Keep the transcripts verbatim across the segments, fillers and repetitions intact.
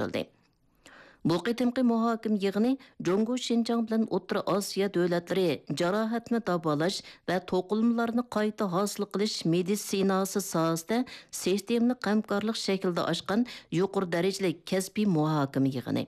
ئېچىلدى. بۇ قېتىمقى مۇھاكىمە يىغىنى جۇڭگو شىنجاڭ بىلەن ئوتتۇرا ئاسىيا دۆلەتلىرى جاراھەتنى داۋالاش ۋە توقۇلمىلارنى قايتا ھاسىل قىلىش مېدىتسىناسى ساھەسىدە سىستېمىلىق ھەمكارلىق شەكلىدە ئاچقان يۇقىرى دەرىجىلىك كەسپىي مۇھاكىمە يىغىنى.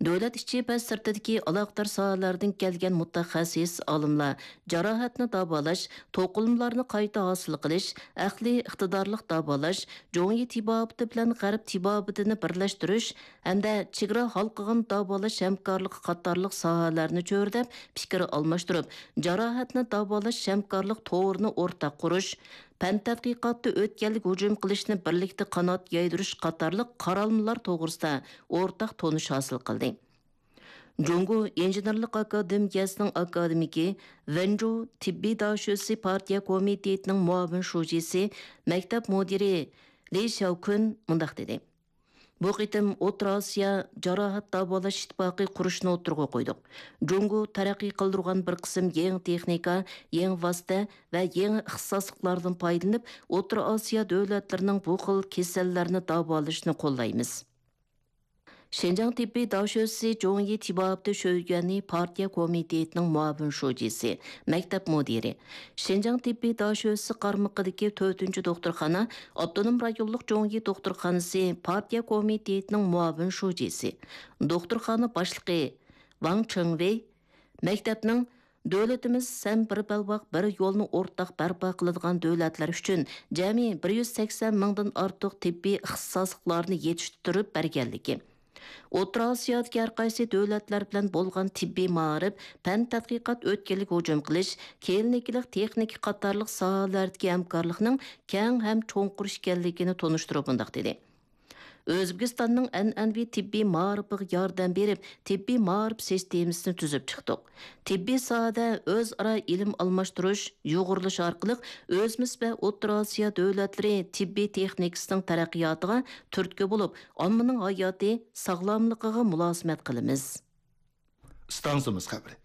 دۆلەت ئىچى ۋە سىرتىدىكى ئالاقىدار ساھەلەردىن كەلگەن مۇتەخەسسىس ئالىملار جاراھەتنى داۋالاش، توقۇلمىلارنى قايتا ھاسىل قىلىش، ئەقلىي ئىقتىدارلىق داۋالاش، جۇڭيى تېبابىتى بىلەن غەرب تېبابىتىنى بىرلەشتۈرۈش ھەمدە چېگرا ھالقىغان داۋالاش ھەمكارلىقى قاتارلىق ساھەلەرنى چۆرىدەپ پىكىر ئالماشتۇرۇپ، جاراھەتنى داۋالاش ھەمكارلىق تورىنى ئورتاق قۇرۇش، پەن تەتقىقاتتا ئۆتكەلگە ھۇجۇم قىلىشنى بىرلىكتە قانات يايدۇرۇش قاتارلىق قارالمىلار توغرىسىدا ئورتاق تونۇش ھاسىل قىلدى. جۇڭگو ئىنژېنېرلىق ئاكادېمىيەسىنىڭ ئاكادېمىكى، ۋېنجۇ تېببىي داشۆسى پارتىيە كومىتېتىنىڭ مۇئاۋىن شۇجىسى، مەكتەپ مۇدىرى لى شياۋكۈن مۇنداق دېدى: بۇ قېتىم ئوتتۇرا ئاسىيا جاراھەت داۋالاش ئىتتىپاقى قۇرۇشنى ئوتتۇرىغا قويدۇق. جۇڭگو تەرەققىي قىلدۇرغان بىر قىسىم يېڭى تېخنىكا، يېڭى ۋاسىتە ۋە يېڭى ئىختىساسلىقلاردىن پايدىلىنىپ، ئوتتۇرا ئاسىيا دۆلەتلىرىنىڭ بۇ خىل كېسەللەرنى داۋالىشىنى قوللايمىز. شىنجاڭ تېببىي داشۆسى جۇڭيى تېبابىتى شۆيۈەنى پارتىيە كومىتېتىنىڭ مۇئاۋىن شۇجىسى، مەكتەپ مۇدىرى، شىنجاڭ تېببىي داشۆسى قارمىقىدىكى تۆتىنچى دوختۇرخانا، ئاپتونوم رايونلۇق جۇڭيى دوختۇرخانىسى پارتىيە كومىتېتىنىڭ مۇئاۋىن شۇجىسى، دوختۇرخانا باشلىقى ۋاڭ چېڭۋېي، مەكتەپنىڭ دۆلىتىمىز ھەم بىر بەلباغ، بىر يولنى ئورتاق بەرپا قىلىدىغان دۆلەتلەر ئۈچۈن جەمئىي بىر يۈز سەكسەن مىڭدىن ئارتۇق تېببىي ئىختىساسلىقلارنى يېتىشتۈرۈپ بەرگەنلىكى، ئوتتۇرا ئاسىيادىكى ھەر قايسى دۆلەتلەر بىلەن بولغان تېببىي مائارىپ، پەن تەتقىقات ئۆتكەلگە ھۇجۇم قىلىش، كلىنىكىلىق تېخنىكا قاتارلىق ساھەلەردىكى ھەمكارلىقنىڭ كەڭ ھەم چوڭقۇر ئىكەنلىكىنى تونۇشتۇرۇپ مۇنداق دېدى: ئۆزبېكىستاننىڭ ئەنئەنىۋى تېببىي مائارىپىغا ياردەم بېرىپ، تېببىي مائارىپ سىستېمىسىنى تۈزۈپ چىقتۇق. تېببىي ساھەدە ئۆزئارا ئىلىم ئالماشتۇرۇش، يۇغۇرۇلۇش ئارقىلىق ئۆزىمىز ۋە ئوتتۇرا ئاسىيا دۆلەتلىرى تېببىي تېخنىكىسىنىڭ تەرەققىياتىغا تۈرتكە بولۇپ، ئاممىنىڭ ھاياتى، ساغلاملىقىغا مۇلازىمەت قىلىمىز. ئىستانسىمىز خەۋىرى.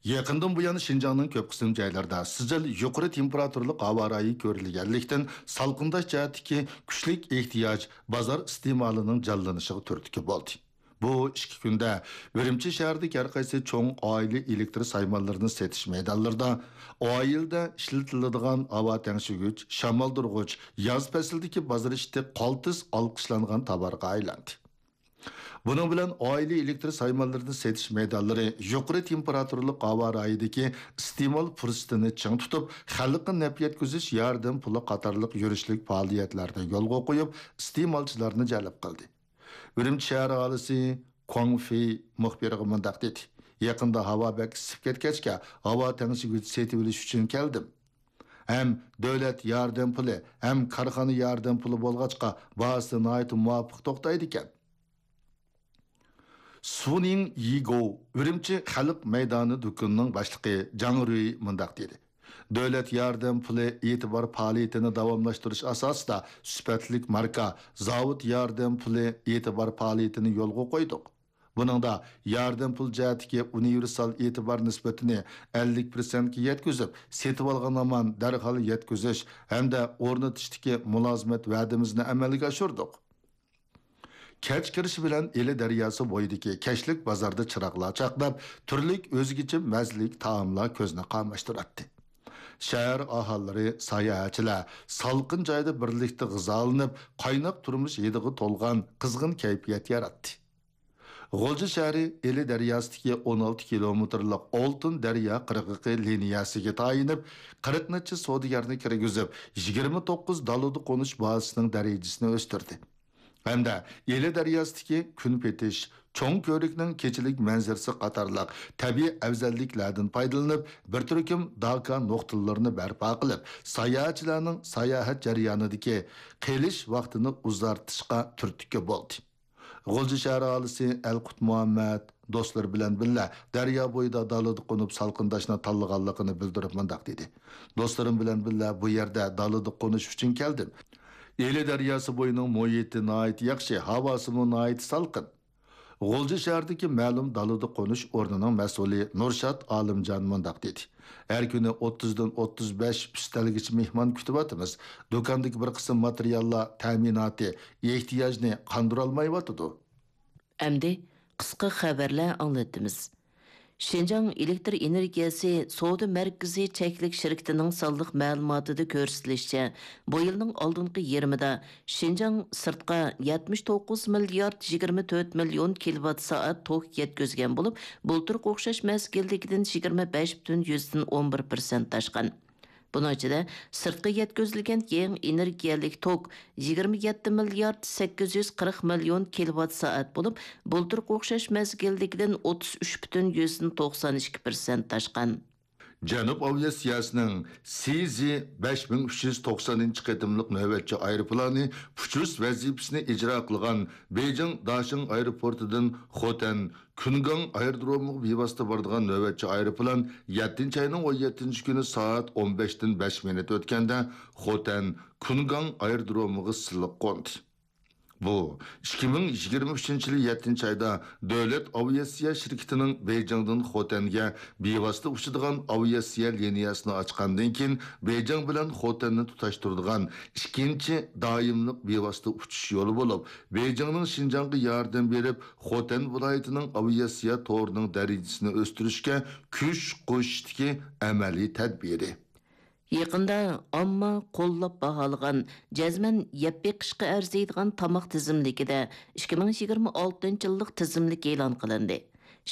يېقىندىن بۇيان شىنجاڭنىڭ كۆپ قىسىم جايلىرىدا سىجىل يۇقىرى تېمپېراتۇرىلىق ھاۋا رايى كۆرۈلگەنلىكتىن، سالقىنداش جەھەتتىكى كۈچلۈك ئېھتىياج بازار ئىستېمالىنىڭ جانلىنىشىغا تۈرتكە بولدى. بۇ ئىككى كۈندە ئۈرۈمچى شەھىرىدىكى ھەر قايسى چوڭ ئائىلە ئېلېكتر سايمانلىرىنى سېتىش مەيدانلىرىدا ئائىلىدە ئىشلىتىلىدىغان ھاۋا تەڭشىگۈچ، شامالدۇرغۇچ، ياز پەسلىدىكى بازار ئىشىكى قالتىس ئالقىشلانغان تاۋارغا ئايلاندى. بۇنىڭ بىلەن ئائىلە ئېلېكتر سايمانلىرىنى سېتىش مەيدانلىرى يۇقىرى تېمپېراتۇرىلىق ھاۋا رايىدىكى ئىستېمال پۇرسىتىنى چىڭ تۇتۇپ، خەلققە نەپ يەتكۈزۈش ياردەم پۇلى قاتارلىق يۈرۈشلۈك پائالىيەتلەرنى يولغا قويۇپ، ئىستېمالچىلارنى جەلپ قىلدى. ئۈرۈمچى شەھەر ئاھالىسى كۇاڭ فېي مۇخبىرغا مۇنداق دېدى: يېقىندا ھاۋا بەك ئىسسىپ كەتكەچكە، ھاۋا تەڭشىگۈچ سېتىۋېلىش ئۈچۈن كەلدىم. ھەم دۆلەت ياردەم پۇلى، ھەم كارخانا ياردەم پۇلى بولغاچقا، باھاسى ناھايىتى مۇۋاپىق توختايدىكەن. سۇنىڭ يىگو، ئۈرۈمچى خەلق مەيدانى دۇكىنىنىڭ باشلىقى جاڭ رۈي مۇنداق دېدى: دۆلەت ياردەم پۇلى ئېتىبار پائالىيىتىنى داۋاملاشتۇرۇش ئاساسىدا، سۈپەتلىك ماركا، زاۋۇت ياردەم پۇلى ئېتىبار پائالىيىتىنى يولغا قويدۇق. بۇنىڭدا ياردەم پۇل جەھەتتىكى ئۇنىۋېرسال ئېتىبار نىسبىتىنى ئەللىك پىرسەنتكە يەتكۈزۈپ، سېتىۋالغان ھامان دەرھال يەتكۈزۈش ھەمدە ئورنىتىشتىكى مۇلازىمەت ۋەدىمىزنى ئەمەلگە ئاشۇردۇق. كەچ كىرىشى بىلەن ئىلى دەرياسى بويىدىكى كەچلىك بازاردا چىراغلار چاقناپ، تۈرلۈك ئۆزگىچە مەززىلىك تائاملار كۆزنى قاماشتۇراتتى. شەھەر ئاھالىلىرى، ساياھەتچىلەر سالقىن جايدا بىرلىكتە غىزالىنىپ، قايناق تۇرمۇش ھىدىغا تولغان قىزغىن كەيپىيات ياراتتى. غۇلجا شەھىرى ئىلى دەرياسىدىكى ئون ئالتە كىلومېتىرلىق ئالتۇن دەريا قىرغىقى لىنىيەسىگە تايىنىپ، قىرىق نەچچە سودىگەرنى كىرگۈزۈپ، يىگىرمە توققۇز دالىدا قونۇش بازىسىنىڭ دەرىجىسىنى ئۆستۈردى. ھەمدە ئىلى دەرياسىدىكى كۈن پېتىش، چوڭ كۆۋرۈكنىڭ كېچىلىك مەنزىرىسى قاتارلىق تەبىئىي ئەۋزەللىكلەردىن پايدىلىنىپ، بىر تۈركۈم داكا نۇقتىلىرىنى بەرپا قىلىپ، ساياھەتچىلەرنىڭ ساياھەت جەريانىدىكى قېلىش ۋاقتىنى ئۇزارتىشقا تۈرتكە بولدى. غۇلجا شەھەر ئاھالىسى ئەلقۇت مۇھەممەد دوستلىرى بىلەن بىللە دەريا بويىدا دالىدا قونۇپ سالقىنداشنى تاللىغانلىقىنى بىلدۈرۈپ مۇنداق دېدى: دوستلىرىم بىلەن بىللە بۇ يەردە دالىدا قونۇش ئۈچۈن كەلدىم. ئىلى دەرياسى بويىنىڭ مۇھىتى ناھايىتى ياخشى، ھاۋاسىمۇ ناھايىتى سالقىن. غۇلجا شەھىرىدىكى مەلۇم دالىدا قونۇش ئورنىنىڭ مەسئۇلى نۇرشات ئالىمجان مۇنداق دېدى: ھەر كۈنى ئوتتۇزدىن ئوتتۇز بەش ئۈستەلگىچە مېھمان كۈتۈۋاتىمىز. دۇكاندىكى بىر قىسىم ماتېرىياللار تەمىناتى ئېھتىياجنى قاندۇرالمايۋاتىدۇ. ئەمدى قىسقا خەۋەرلەر ئاڭلىتىمىز. شىنجاڭ ئېلېكتر ئېنېرگىيەسى سودا مەركىزى چەكلىك شىركىتىنىڭ سانلىق مەلۇماتىدا كۆرسىتىلىشىچە، بۇ يىلنىڭ ئالدىنقى يېرىمىدا شىنجاڭ سىرتقا يەتمىش توققۇز مىليارد يىگىرمە تۆت مىليون كىلوۋات سائەت توك يەتكۈزگەن بولۇپ، بۇلتۇرقى ئوخشاش مەزگىلدىكىدىن يىگىرمە بەش پۈتۈن يۈزدىن ئون بىر پىرسەنت ئاشقان. بۇنىڭ ئىچىدە، سىرتقا يەتكۈزۈلگەن يېڭى ئېنېرگىيەلىك توك يىگىرمە يەتتە مىليارد سەككىز يۈز قىرىق مىليون كىلوۋات سائەت بولۇپ، بۇلتۇرقى ئوخشاش مەزگىلدىكىدىن ئوتتۇز ئۈچ پۈتۈن يۈزدىن توقسان ئىككى پىرسەنت ئاشقان. جەنۇب ئاۋىئاتسىيەسىنىڭ سى زى بەش مىڭ ئۈچ يۈز توقسانىنچى قېتىملىق نۆۋەتچى ئايروپىلانى ئۇچۇش ۋەزىپىسىنى ئىجرا قىلغان بېيجىڭ داشىڭ ئايروپورتىدىن خوتەن كۈنگاڭ ئايرودرومىغا بىۋاسىتە بارىدىغان نۆۋەتچى ئايروپىلان يەتتىنچى ئاينىڭ ئون يەتتىنچى كۈنى سائەت ئون بەشتىن بەش مىنۇت ئۆتكەندە خوتەن كۈنگاڭ ئايرودرومىغا سىلىق قوندى. بۇ ئىككى مىڭ يىگىرمە ئۈچىنچى يىلى يەتتىنچى ئايدا دۆلەت ئاۋىئاتسىيە شىركىتىنىڭ بېيجىڭدىن خوتەنگە بىۋاسىتە ئۇچىدىغان ئاۋىئاتسىيە لىنىيەسىنى ئاچقاندىن كېيىن، بېيجىڭ بىلەن خوتەننى تۇتاشتۇرىدىغان ئىككىنچى دائىملىق بىۋاسىتە ئۇچۇش يولى بولۇپ، بېيجىڭنىڭ شىنجاڭغا ياردەم بېرىپ، خوتەن ۋىلايىتىنىڭ ئاۋىئاتسىيە تورىنىڭ دەرىجىسىنى ئۆستۈرۈشكە كۈچ قوشۇشتىكى ئەمەلىي تەدبىرى. يېقىندا ئامما قوللاپ باھالىغان جەزمەن يەپ بېقىشقا ئەرزىيدىغان تاماق تىزىملىكىدە ئىككى مىڭ يىگىرمە ئالتىنچى يىللىق تىزىملىك ئېلان قىلىندى.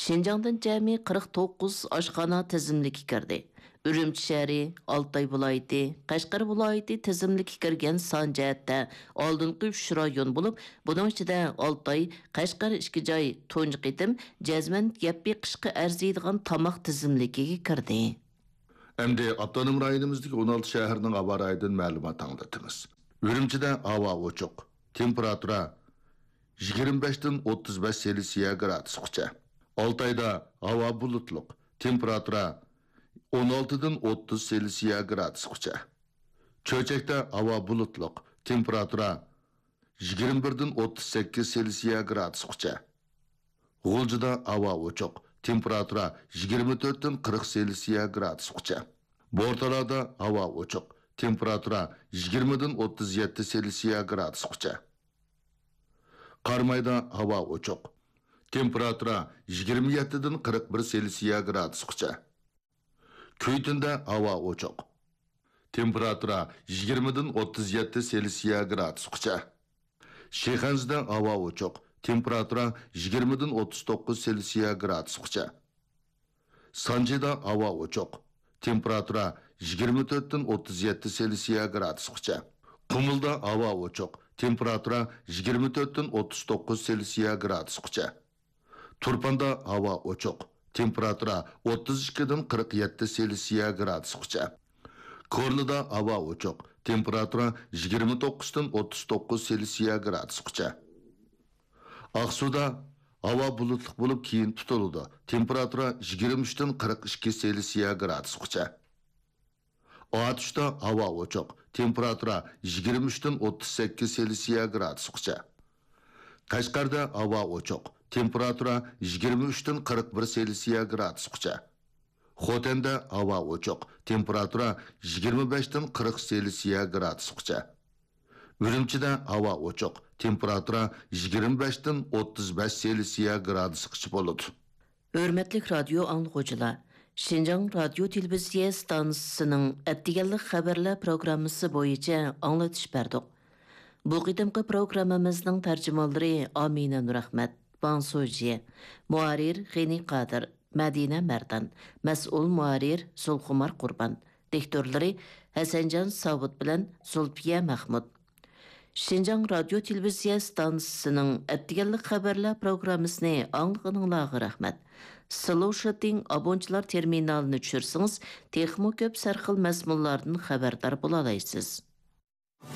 شىنجاڭدىن جەمئىي قىرىق توققۇز ئاشخانا تىزىملىككە كىردى. ئۈرۈمچى شەھىرى، ئالتاي ۋىلايىتى، قەشقەر ۋىلايىتى تىزىملىككە كىرگەن سان جەھەتتە ئالدىنقى ئۈچ رايون بولۇپ، بۇنىڭ ئىچىدە ئالتاي، قەشقەر ئىككى جاي تۇنجى قېتىم جەزمەن يەپ بېقىشقا ئەرزىيدىغان تاماق تىزىملىكىگە كىردى. ئەمدى ئاپتونوم رايونىمىزدىكى ئون ئالتە شەھەرنىڭ ھاۋا رايىدىن مەلۇمات ئاڭلىتىمىز. ئۈرۈمچىدە ھاۋا ئوچۇق، تېمپېراتۇرا يىگىرمە بەشتىن ئوتتۇز بەش سېلسىيە گرادۇسقىچە. ئالتايدا ھاۋا بۇلۇتلۇق، تېمپېراتۇرا ئون ئالتىدىن ئوتتۇز سېلسىيە گرادۇسقىچە. چۆچەكتە ھاۋا بۇلۇتلۇق، تېمپېراتۇرا يىگىرمە بىردىن ئوتتۇز سەككىز سېلسىيە گرادۇسقىچە. غۇلجىدا ھاۋا ئوچۇق، تېمپېراتۇرا يىگىرمە تۆتتىن قىرىق سېلسىيە گرادۇسقىچە. بورتالادا ھاۋا ئوچۇق، تېمپېراتۇرا يىگىرمىدىن ئوتتۇز يەتتە سېلسىيە گرادۇسقىچە. قارامايدا ھاۋا ئوچۇق، تېمپېراتۇرا يىگىرمە يەتتىدىن قىرىق بىر سېلسىيە گرادۇسقىچە. كۈيتۈندە ھاۋا ئوچۇق، تېمپېراتۇرا يىگىرمىدىن ئوتتۇز يەتتە سېلسىيە گرادۇسقىچە. شىخەنزىدە ھاۋا ئوچۇق، تېمپېراتۇرا يىگىرمىدىن ئوتتۇز توققۇز سېلسىيە گرادۇسقىچە. سانجىدا ھاۋا ئوچۇق، تېمپېراتۇرا يىگىرمە تۆتتىن ئوتتۇز يەتتە سېلسىيە گرادۇسقىچە. قۇمۇلدا ھاۋا ئوچۇق، تېمپېراتۇرا يىگىرمە تۆتتىن ئوتتۇز توققۇز سېلسىيە گرادۇسقىچە. تۇرپاندا ھاۋا ئوچۇق، تېمپېراتۇرا ئوتتۇز ئىككىدىن قىرىق يەتتە سېلسىيە گرادۇسقىچە. كورلىدا ھاۋا ئوچۇق، تېمپېراتۇرا يىگىرمە توققۇزدىن ئوتتۇز توققۇز سېلسىيە گرادۇسقىچە. ئاقسۇدا ھاۋا بۇلۇتلۇق بولۇپ، كېيىن تۇتۇلىدۇ، تېمپېراتۇرا يىگىرمە ئۈچتىن قىرىق ئىككى سېلسىيە گرادۇسقىچە. ئاتۇشتا ھاۋا ئوچۇق، تېمپېراتۇرا يىگىرمە ئۈچتىن ئوتتۇز سەككىز سېلسىيە گرادۇسقىچە. قەشقەردە ھاۋا ئوچۇق، تېمپېراتۇرا يىگىرمە ئۈچتىن قىرىق بىر سېلسىيە گرادۇسقىچە. خوتەندە ھاۋا ئوچۇق، تېمپېراتۇرا يىگىرمە بەشتىن قىرىق سېلسىيە گرادۇسقىچە. ئۈرۈمچىدە ھاۋا ئوچۇق، تېمپېراتۇرا يىگىرمە بەشتىن ئوتتۇز بەش سېلسىيە گرادۇسقىچە بولىدۇ. ھۆرمەتلىك رادىيو ئاڭلىغۇچىلار، شىنجاڭ رادىيو تېلېۋىزىيە ئىستانسىسىنىڭ ئەتىگەنلىك خەۋەرلەر پروگراممىسى بويىچە ئاڭلىتىش بەردۇق. بۇ قېتىمقى پروگراممىمىزنىڭ تەرجىمانلىرى ئامىنە نۇرئەخمەت، ۋاڭ سۇجيې، مۇھەررىر غېنى قادىر، مەدىنە مەردان، مەسئۇل مۇھەررىر زۇلخۇمار قۇربان، دىكتورلىرى ھەسەنجان ساۋۇت بىلەن زۇلپىيە مەخمۇت. شىنجاڭ رادىيو تېلېۋىزىيە ئىستانسىسىنىڭ ئەتىگەنلىك خەۋەرلەر پروگراممىسىنى ئاڭلىغىنىڭلارغا رەھمەت. سلوشىتىڭ ئابونچىلار تېرمىنالىنى چۈشۈرسىڭىز، تېخىمۇ كۆپ سەرخىل مەزمۇنلاردىن خەۋەردار بولالايسىز.